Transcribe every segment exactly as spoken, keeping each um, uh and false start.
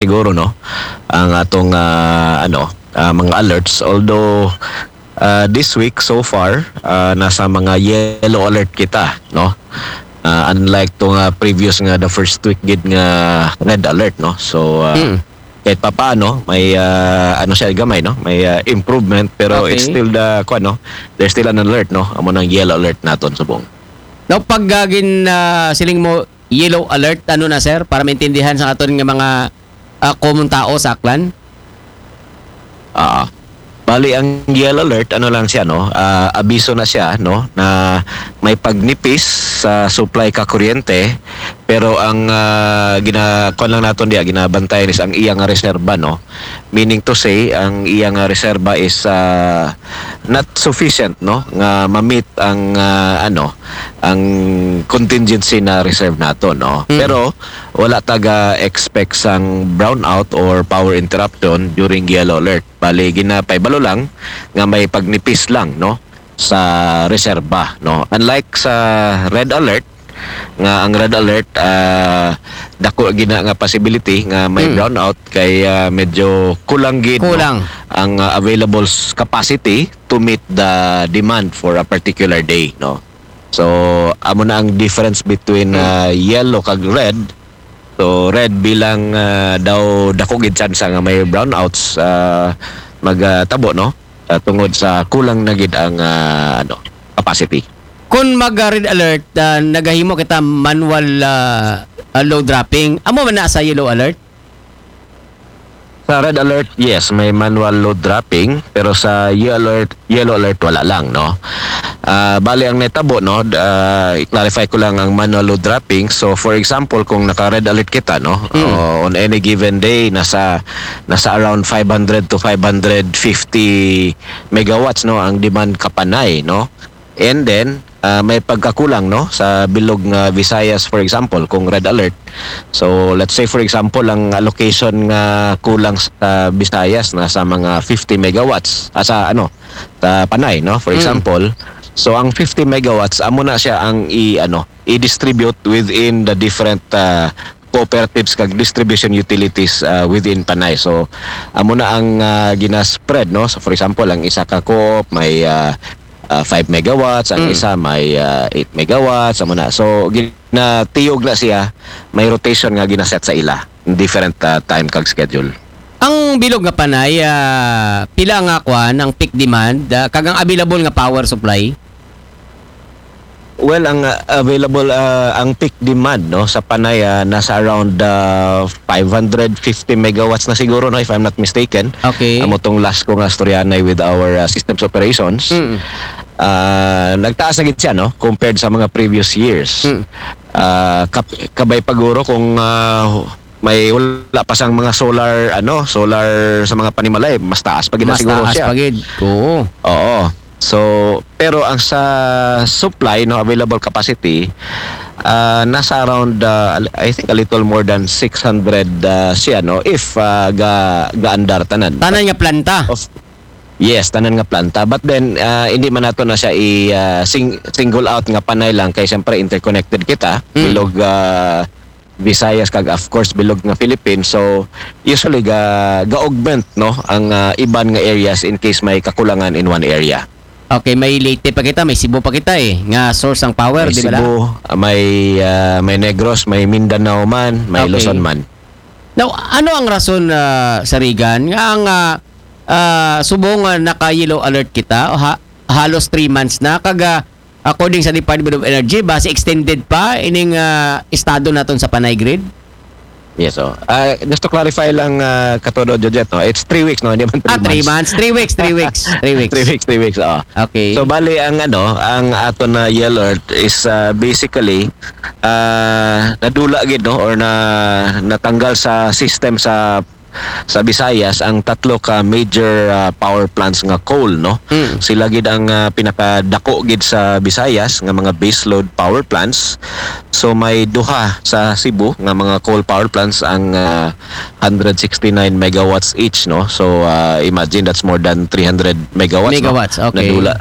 siguro, no, ang atong, ah, ano, ah, mga alerts. Although, ah, this week so far, ah, nasa mga yellow alert kita, no? Ah, unlike to nga previous nga the first week gid nga red alert, no? So, ah, Mm. kahit papaano, may, ah, ano siya, gamay, no? May, ah, improvement, pero Okay. It's still the, kuwan, no? There's still an alert, no? Amo nang yellow alert naton subong. Now, pag ah, gin ah, siling mo yellow alert, ano na, sir, para maintindihan sa aton nga mga ah, common tao sa Aklan? Ah, bali ang yellow alert, ano lang siya, no? Ah, abiso na siya, no, na may pagnipis sa supply ka kuryente, pero ang ah, gina kuwan lang naton diya, ginabantayan is ang iya nga reserba, no? Meaning to say, ang iya nga reserba is ah, not sufficient, no, nga ma-meet ang ah, ano, ang contingency na reserve nato, no? Mm. Pero wala taga expect sang brownout or power interruption during yellow alert. Bali, ginapaibalo lang nga may pagnipis lang, no, sa reserba, no? Unlike sa red alert, nga ang red alert, ah, dako gina nga possibility nga may Mm. brownout kay ah, medyo kulang gid, no, Kulang. ang ah, available s- capacity to meet the demand for a particular day, no? So, amo na ang difference between ah, yellow kag red. So, red bilang ah, daw dako gid tsansa nga may brownouts ah, magtabo, no? Ah, tungod sa kulang na gid ang ah, ano, capacity. Kung mag ah, red alert, ah, nagahimo kita manual ah, ah, load dropping. Amo man na sa yellow alert? Sa red alert, yes, may manual load dropping, pero sa yellow alert, yellow alert wala lang, no. Ah, bali ang netabo, no, d- ah, i-clarify ko lang ang manual load dropping. So for example, kung naka red alert kita, no, Mm. o on any given day, nasa nasa around five hundred to five hundred fifty megawatts, no, ang demand ka Panay, no. And then ah, may pagkakulang, no, sa bilog nga Visayas, for example, kung red alert. So let's say for example, ang allocation nga kulang sa Visayas na sa mga fifty megawatts, ah, sa ano, sa Panay, no, for Mm. example. So ang fifty megawatts, amo na siya ang i ano, i-distribute within the different ah, cooperatives kag distribution utilities ah, within Panay. So amo na ang ah, gina-spread, no. So for example, ang isa ka co-op may ah, ah, five megawatts, ang Mm. isa may ah, eight megawatts, amo na. So ginatiyog na siya, may rotation nga ginaset sa ila, different ah, time kag schedule. Ang bilog nga Panay, ah, pila nga kuan ang peak demand, ah, kag ang available nga power supply? Well, ang ah, available ah, ang peak demand, no, sa Panay ah, nasa around ah, five hundred fifty megawatts na siguro, no, if I'm not mistaken. Okay. Amo tong last ko nga storyanay with our ah, systems operations. Mm. Ah, nagtaas na gid siya, no, compared sa mga previous years. Mm. Ah, kap- kabay paguro kung ah, may wala pa sang mga solar, ano, solar sa mga panimalay, mas taas pa gid na Mas siguro taas siya. pa gid. Oo. Oo. So, pero ang sa supply, no, available capacity, ah, nasa around, ah, I think a little more than six hundred ah, siya, no, if ah, ga gaandar tanan. Tanan nga planta. Of Yes, tanan nga planta. But then, ah, hindi man nato na siya i ah, sing- single out nga Panay lang kay siyempre interconnected kita. Mm. Bilog ah, Visayas kag of course bilog nga Philippines. So usually ga ga-augment, no, ang ah, iban nga areas in case may kakulangan in one area. Okay, may Leyte pa kita, may Cebu pa kita eh, nga source ang power, May di ba? Cebu, ah, may ah, may Negros, may Mindanao man, may Okay. Luzon man. Now, ano ang rason ah, sa Regan nga ang ah, ah, subong nga naka-yellow alert kita, ha, halos three months na, kag ah, according sa Department of Energy, basi extended pa ining ah, estado naton sa Panay grid? Yes, oh. Ah, just to clarify lang, ah, Katodo Jojet, no? It's three weeks, no? Hindi man three Ah, three months. months. Three weeks, three weeks, three weeks. Three weeks, three weeks, oh. Okay. So bali ang ano, ang ato na yellow alert is ah, basically ah, nadula gid, no, or na natanggal sa system sa sa Visayas ang tatlo ka major ah, power plants nga coal, no. Mm. Sila gid ang ah, pinakadako gid sa Visayas nga mga baseload power plants. So may duha sa Cebu nga mga coal power plants ang ah, one hundred sixty-nine megawatts each, no. So ah, imagine that's more than three hundred megawatts, no? Megawatts, okay. Nadula.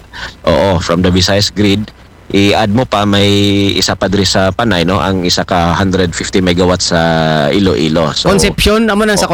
Oo, from the Visayas grid. i-add mo pa, may isa pa diri sa Panay, no, ang isa ka one hundred fifty megawatts sa Iloilo. So, Concepcion, amo nang sa Oh,